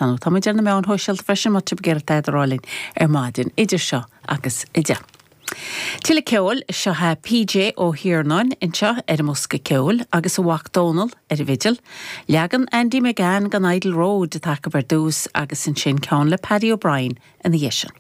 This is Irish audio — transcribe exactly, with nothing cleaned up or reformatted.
Tá muid ar na meáin shóisialta freisin má tá ag iarraidh linn ar maidin idir seo agus a deich. Tuilleadh ceoil seo é P J Ó hIarnáin anseo ar an mbosca ceoil agus a mhac Dónal ar an bhfidil, leagan Andy McGann den Idle Road atá ar dtús agus ansin ceann le Paddy O'Brien ina dhiaidh sin.